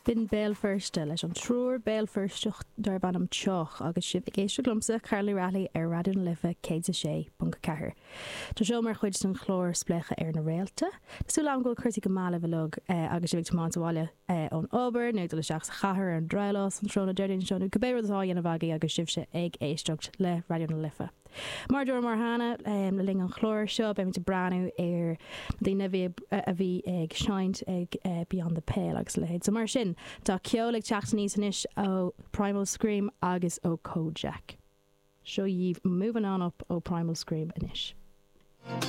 B'in Béal Feirste leis an triúr Béal Feirsteach darb ainm Teoch agus sibh ag éisteacht liomsa, Carla Ní Raghallaigh ar Raidió na Life 106.4. Tá seo mar chuid den chlár Spléachadh ar na Réalta. Tá súil agam go bhfuil cúrsaí go maith libh uilig agus sibh ag tiomáint abhaile ón obair nó ag dul isteach sa chathair ar an drabhlás an tráthnóna Déardaoin seo nó cibé rud atá á dhéanamh agaibh agus sibhse ag éisteacht le Raidió na Life. Mar a dúramar cheana, le linn an chláir seo, beimid ag breathnú ar na daoine a bhí a bhí ag seinnt ag Beyond the Pale agus a leithéid. So mar sin, tá ceol ag teacht aníos anois ó Primal Scream agus ó Kojaque. Seo dhaoibh Movin' On Up ó Primal Scream anois.